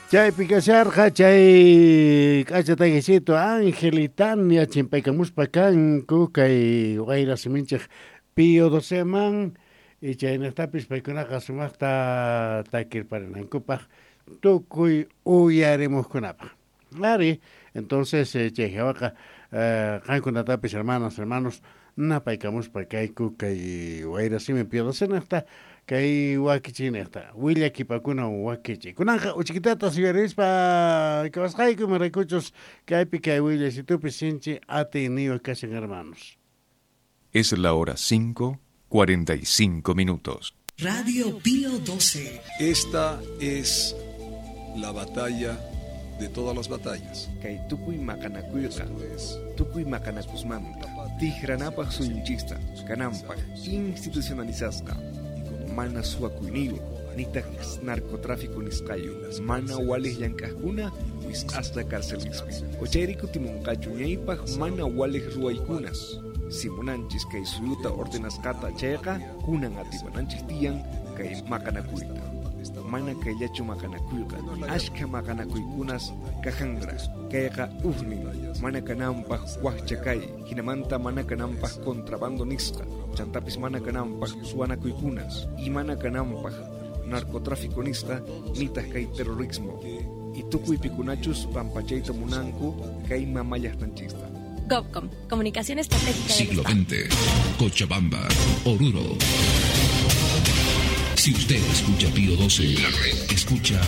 Chaypi kasharqa chay k'acha takisito Ángel y Tania chimpaykamuspa kanku kay wayra siminchik Pío Doceman y chaynaqtapis paykunaqa sumaqta takirparinankupaq tukuy uyarimuqkunapaq. Ari, entonces chay hawaqa qankunatapis hermanas, hermanos napaykamuspa kayku kay wayra simi Pío Docenaqta kay wakichinaqta willakipakuna wakichi. Kunanqa uchikitata yuyarispa kawasqayku imaraykuchus kaypi kay willasitupi sinchi atiyniyuq kashan hermanos. Es la hora 5:45 minutos. Radio Pío 12. Esta es la batalla de todas las batallas. Kay tukuy maqanakuyqa, tukuy maqanakusmanta, tijranapaq suyunchista, kananpaq institucionalizasqa, mana suwakuyniyuq, nitaq narcotráfico nisqayu, mana waliq llank'aqkuna wisq'asqa carcelispi. Ochayri kutimunqachu ñaypaq mana waliq ruwaykunas. Si munanchis kay suyuta ordenasqata chayqa, kunan atipananchis tiyan kay maqanakuyta. Mana kayllachu maqanakuyqa, ashka maqanakuykunas kajanra, kayqa ujnin, mana kananpaq wakcha kay, hinamanta mana kananpaq contrabando nisqa, chantapis mana kananpaq suwanakuykunas, y mana kananpaq narcotráfico nisqa, nitaq kay terrorismo. Y tukuy pikunachus pampachayta munanku kay mamallaqtanchista. GovCom, Comunicación Estratégica del Siglo Estado. XX, Cochabamba, Oruro. Si usted escucha Pío 12, escucha